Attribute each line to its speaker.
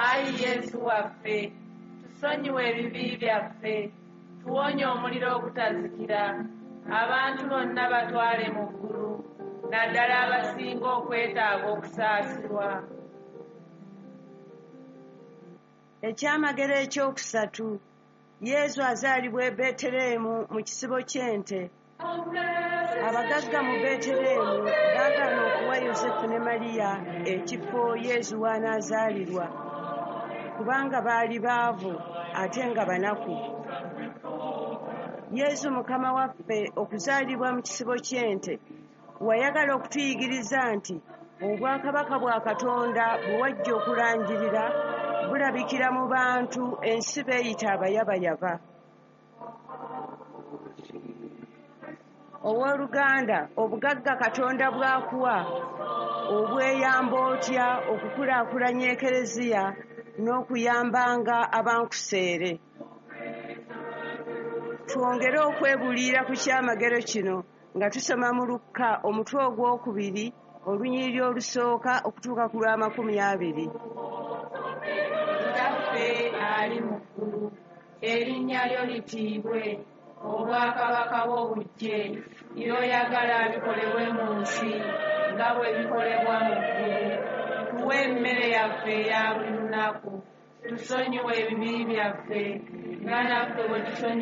Speaker 1: Ayi Yesu waffe, tusonyiwe ebibi byaffe, tuwonye omuliro ogutazikira, abantu bonna batwale mu ggulu, naddala abasinga okwetaaga okusaasirwa.
Speaker 2: Ekyamagero ekyokusatu, Yesu azaalibwa e Beeteleemu mu kisibo ky'ente. Abagagga mu Beeteleemu baagaana okuwa Yosefu ne Mariya ekifo Yesu w'anaazaalirwa, kubanga baali baavu ate nga banaku. Yesu Mukama waffe okuzaalibwa mu kisibo ky'ente, wayagala okutuyigiriza nti obwakabaka bwa Katonda bwe wajja okulangirira bulabikira mu bantu ensi beeyita abayabayaba. Owooluganda, obugagga Katonda bw'akuwa obweyamba otya okukulaakulanya Ekereziya n'okuyambanga abankuseere? Twongere okwebuulirira ku kyamagero kino nga tusoma mu Lukka omutwe ogwokubiri olunyiriri olusooka okutuuka ku lw'amakumi abiri.
Speaker 1: Kitaffe ali mu ggulu, erinnya lyo litiibwe, obwakabaka bwo bujje, by'oyagala bikolebwe mu nsi nga bwe bikolebwa mu ggulu. Tuwe emmere yaffe eya buli lunaku, tusonyiwe ebibi byaffe nga naffe bwe tusonyiwa.